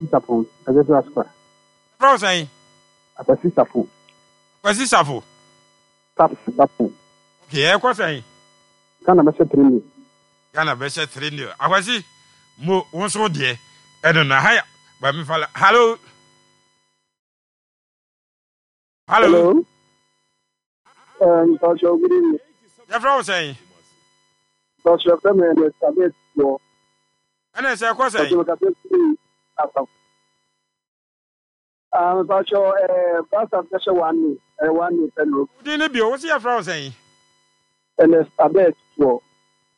Sapon, ɛsɛ sɛ aspa. Yɛfrɛ wo sɛn? Akwasi Safo. Akwasi Safo. Safo, Safo. Okay, ɛkɔ sɛn? Ghana bɛhyɛ 3 nil. Ghana bɛhyɛ 3 nil. Akwasi, mo, wo nso wo deɛ, ɛno no, ha ya, ba mi fa la, hallo. Hallo. Hello. Pastor, good evening. Yɛfrɛ wo sɛn? Pastor, yɛfrɛ me Ernest Adetufoɔ. Ɛna sɛ ɛkɔ sɛn? Pastor, mekasa firi Asafo. Ah, Pastor, Pastor bɛhyɛ one day, ɛyɛ one day pɛ no. Wodin no bio, wo se yɛfrɛ wo sɛn? Ernest Adetufoɔ.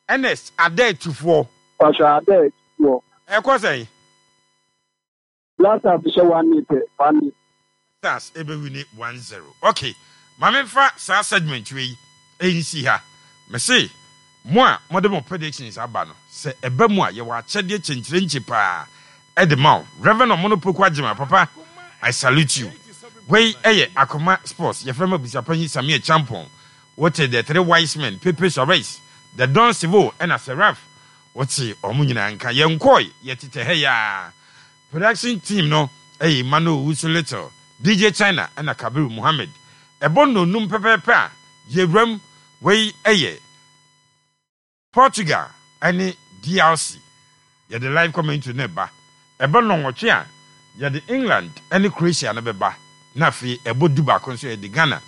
Ernest Adetufoɔ. Pastor Adetufoɔ. Ɛkɔ sɛn? Black Stars hyɛ one nil pɛ, one nil. Stars ɛbɛwini 1-0. Ok, ma memfa saa segment wei nsi ha. Mese mo a mode mo predictions aba no, sɛ ɛba mu a yɛwɔ akyɛdeɛ kyenkyerenkye paa de ma wo. Rev. Omono Poku Agyemang, papa, I salute you. Wei yɛ Akoma Sports, yɛfrɛ me Abusuapanyin Samir Champon. Wote The Three Wise Men, Pepe Suarez, The Don Sivo ɛna Seraph. Wote wɔn nyinaa nka. Yɛnkɔe, yɛtetɛ ha yi ara. Production team no yɛ Emmanuel Owusu Little, DJ China ɛna Kabiru Mohammed. Ɛbɔ nnɔnnum pɛpɛɛpɛ a, yɛwuram. Wei yɛ Portugal ne DRC. Yɛde live commentary no reba. Ɛbɔ nnɔnwɔtwe a, yɛde England ne Croatia no bɛba, na afei ɛbɔ dubaako nso a, yɛde Ghana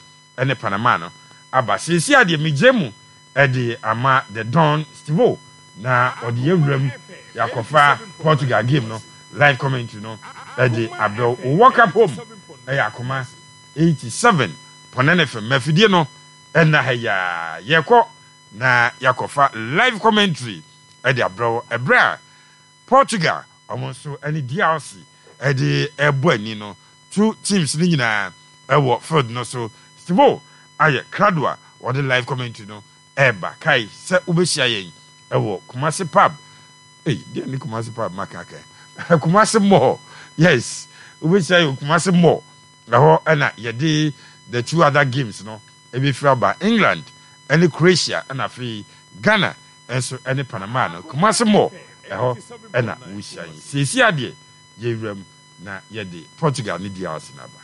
ne Panama no aba. Seesei ara deɛ megyae mu de ama The Don Stevo na ɔde yɛn wuram yɛakɔfa Portugal game no live commentary no de abrɛ wo. Wo World Cup Home yɛ Akoma 87 Pɔnɛn FM. Mafidie no nna ha yi ara. Yɛkɔ na yɛakɔfa live commentary de abrɛ wo ɛberɛ a Portugal wɔn nso ne DRC de rebɔ ani no, two teams no nyinaa wɔ field no so. Stevo ayɛ krado a wɔde live commentary no reba. Kae sɛ wobɛhyia yɛn wɔ Kumasi Pub. Ei, deɛ ne Kumasi Pub maka aka. Kumasi Mall. Yes, wobɛhyia yɛn wɔ Kumasi Mall. Ɛhɔ na yɛde the two other games no ɛbɛfiri aba. England ne Croatia ɛna afei Ghana nso ne Panama no. Kumasi Mall, ɛhɔ na wohyia yɛn. Seesei ara deɛ, yɛwura mu na yɛde Portugal ne DRC no aba.